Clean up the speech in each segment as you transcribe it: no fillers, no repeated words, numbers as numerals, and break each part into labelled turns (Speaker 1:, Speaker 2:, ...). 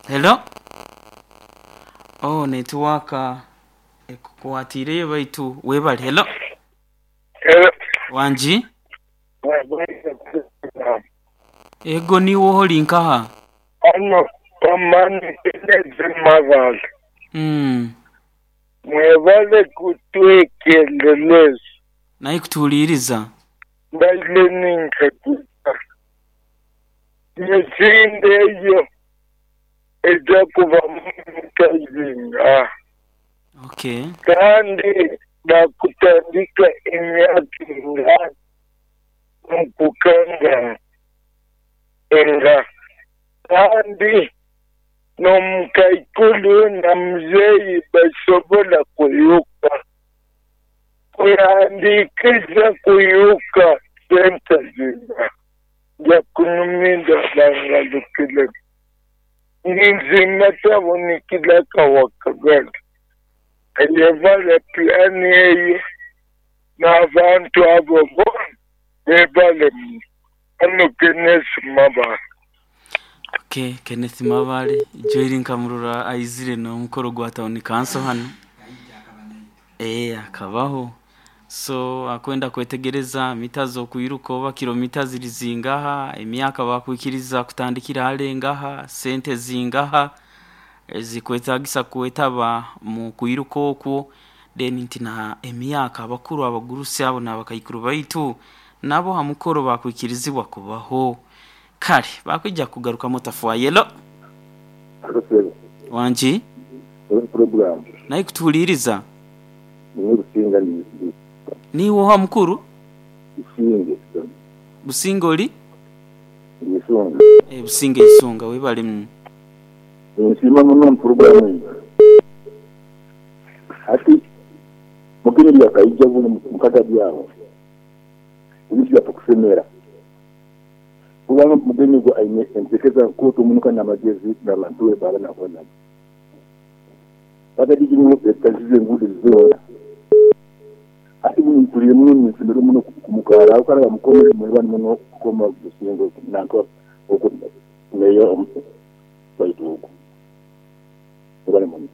Speaker 1: Hello. Oh, netiwaaka ekukwatiireyo baitu webale. Hello.
Speaker 2: Hello.
Speaker 1: Wangi? Ego niiwe oha oli nkaha?
Speaker 2: Hano Kamani Kenneth Mabale. Mwebale kutwekendeleza.
Speaker 1: Naye kutuwuliriza.
Speaker 2: Mbaire ni nkaguza emisinde eyo eja kuba mu mita dhinga?
Speaker 1: Okay.
Speaker 2: Kandi bakutandika emyaka enga mukukanga enga? Kandi n'omukaikulu na muzeeyi basobola kuyuka? Kwehandikiza kuyuka sente zinga? Nja kunuminda bangalukiremu. Ninze tabonekera Kawakagala. Eyebale pulani eyo n'abantu abo boona bebale muno. Hano Kenneth Mabale.
Speaker 1: Okay, Kenneth Mabale, Joel Nkamurora aizire n'omukoro gwa town council hano. Eh, akabaho. So akwenda kwetegereza mita z'okwiruka oba kilomita ziri zingaha, emyaka bakwikiriza kutandikira hale ngaha, sente zingaha ezikwetagisa kwetaba mu kwiruka okwo, then nti na emyaka abakuru abagurusi abo n'abakaikuru baitu nabo ha mukoro bakwikirizibwa kubaho. Kale bakwija kugarukamu otafwayelo. Wangi?
Speaker 3: Program.
Speaker 1: Naye kutuwuliriza.
Speaker 3: Niwe Businga ndi
Speaker 1: Niiwe oha mukuru?
Speaker 3: Businge.
Speaker 1: Businga oli?
Speaker 3: Ndi Isunga.
Speaker 1: Eh, Businga Isunga webale muno.
Speaker 3: Nsiima muno mu program eyo. Hati Mugenyi byakaija buno mukagadi aho. Ebintu byaffe kusemera. Kubanga Mugenyi gwe aine enteekeza nkooto muno kandi n'amagezi n'abantu be baaba nabo nabo. Kagadi gino etazize enguudo zoona. Hati buno mpulire muno ninsemererwa muno kumukaara aho kare bamukomere mwebale muno kukoma Businge nanka oku meeya waitu ogu. Mwebale muno.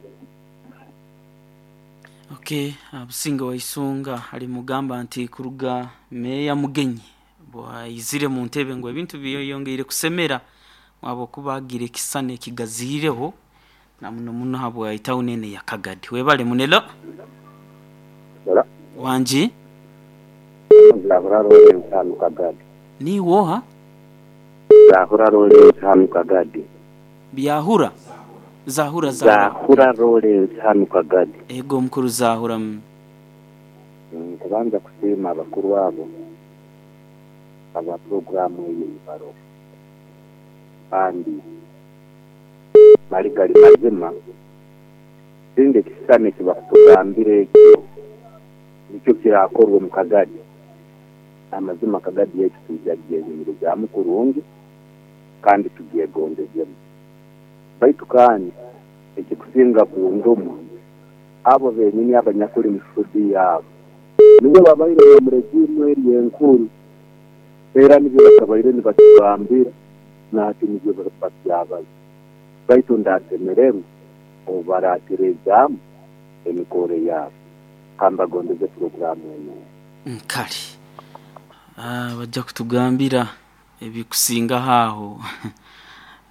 Speaker 1: Okay, Businge wa Isunga ali mugamba nti kuruga meeya Mugenyi bwaizire mu ntebe ngu ebintu byeyongeire kusemera mwabo kuba agira ekisana ekigaziireho na muno muno habwa etauni eno eya Kagadi. Webale munelo.
Speaker 3: Bala.
Speaker 1: Wangi?
Speaker 3: Zahura Lawrence hanu Kagadi.
Speaker 1: Niiwe oha?
Speaker 3: Zahura Lawrence hanu Kagadi.
Speaker 1: Byahura? Zahura Zahura.
Speaker 3: Zahura Lawrence hanu Kagadi.
Speaker 1: Ego mukuru Zahura.
Speaker 3: Nkubanza kusiima abakuru abo aba puroguramu eyo eibaro kandi mali gali mazima singa ekisisani ekibakutugambira ekyo nikyo kirakorwa omu Kagadi. Amazima Kagadi yaitu twija kugyenyumirizaamu kurungi kandi tugyegondezemu. Baitu kandi ekikusinga kunduma abo benyini abanyakuli mu studio abo nibo babaire omu regimu eri enkuru era nibyo bakabaire nibatugambira nahati nibyo bakyabaza. Baitu ndasemererwa obu baratereezaamu emikoro yaabo. Kambagondeze puroguramu enu.
Speaker 1: Kale bajja kutugambira ebikusingaho aho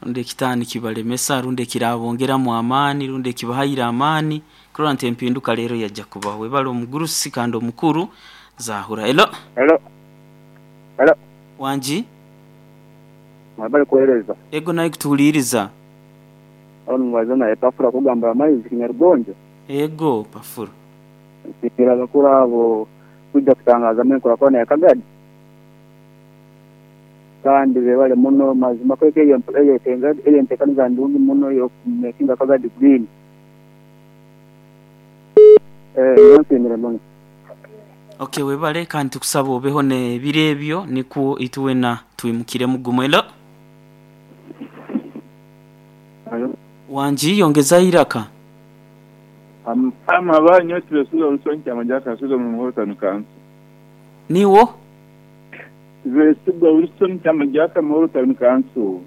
Speaker 1: rundi ekitaani kibalemesa rundi ekirabongeramu amaani rundi ekibahaire amaani kurora nti empinduka leero yajja kubaho. Webale omugurusi kandi omukuru Zahura. Hello.
Speaker 4: Hello. Hello.
Speaker 1: Wangi?
Speaker 4: Mwebale kuweereza.
Speaker 1: Ego naye kutuwuliriza.
Speaker 4: Aho nimubaza naye Pafura kugamba amaizi Kinyarugonjo.
Speaker 1: Ego Pafura.
Speaker 4: Nsiimira abakuru abo kwija kutangazamu enkurakurana ya Kagadi. Kandi bebale muno mazima kweka eyo eyo enteekaniza ndungi muno ey'okumakinga Kagadi green. Eh, nsiimire muno.
Speaker 1: Okay, webale kandi tukusaba obeho n'ebiro ebyo nikwo itwena twimukire mugumu. Hello. Wangi yongeza iraka.
Speaker 5: Ama banyo Besigye Wilson Kyamajja Kasuze mu Muhoro Council.
Speaker 1: Niwo?
Speaker 5: Besigye Wilson Kyamajja Muhoro Council.